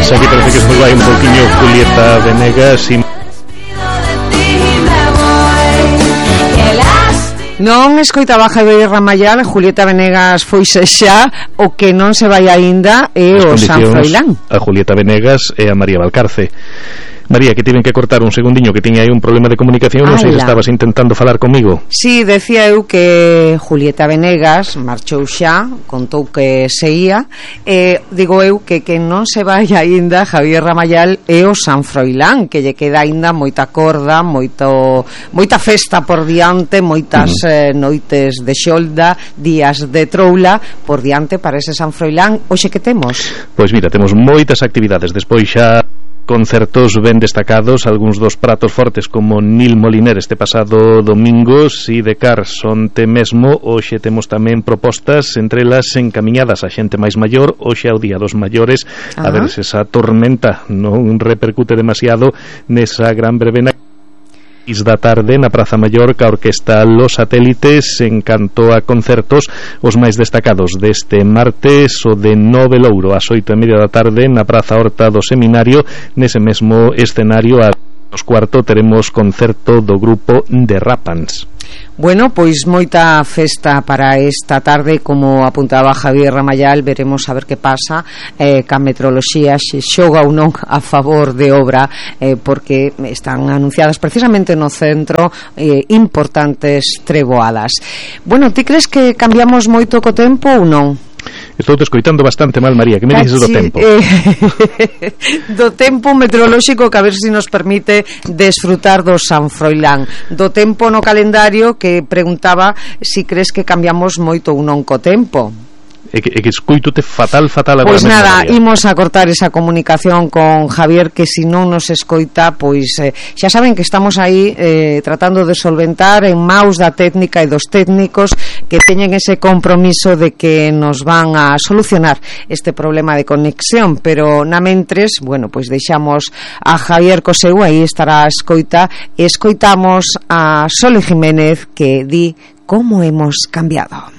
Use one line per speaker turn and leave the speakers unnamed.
Pois aquí parece que se nos vai un pouquiño Julieta Venegas e...
Non escoitaba Javier Ramayal, Julieta Venegas foise xa, o que non se vai aínda é o San Froilán.
A Julieta Venegas e a María Valcarce. María, que tiven que cortar un segundiño, que tiña aí un problema de comunicación. Non sei se estabas intentando falar comigo.
Sí, decía eu que Julieta Venegas marchou xa, contou que se ia, digo eu que non se vai aínda Javier Ramayal e o San Froilán, que lle queda aínda moita corda, moita festa por diante, moitas noites de xolda, días de troula por diante para ese San Froilán. Hoxe que temos?
Pois mira, temos moitas actividades, despois xa concertos ben destacados, algúns dos pratos fortes como Nil Moliner este pasado domingo, Si de Cars onte mesmo. Hoxe temos tamén propostas, entre elas encamiñadas a xente máis maior, hoxe é o día dos maiores, a ver se esa tormenta non repercute demasiado nesa gran verbena da tarde na Praza Maior ca Orquesta Los Satélites en canto a concertos. Os máis destacados deste martes, o de Nove Louro ás 8:30 da tarde na Praza Horta do Seminario. Nese mesmo escenario a 2:15 teremos concerto do grupo de Rapans.
Bueno, pois moita festa para esta tarde, como apuntaba Javier Ramayal. Veremos a ver que pasa ca meteoroloxía, se xoga ou non a favor de obra, porque están anunciadas precisamente no centro importantes treboadas. Bueno, ti crees que cambiamos moito co tempo ou non?
Estou te escoitando bastante mal, María. Que me dices do tempo?
Do tempo meteorolóxico, que a ver se nos permite desfrutar do San Froilán. Do tempo no calendario, que preguntaba si crees que cambiamos moito ou non co tempo.
É que escoitote fatal agora.
Pois nada, imos a cortar esa comunicación con Javier, que se non nos escoita, pois xa saben que estamos aí tratando de solventar en maus da técnica e dos técnicos, que teñen ese compromiso de que nos van a solucionar este problema de conexión, pero na mentres, bueno, pois deixamos a Javier Coseu, aí estará a escoita, e escoitamos a Sole Jiménez, que di como hemos cambiado.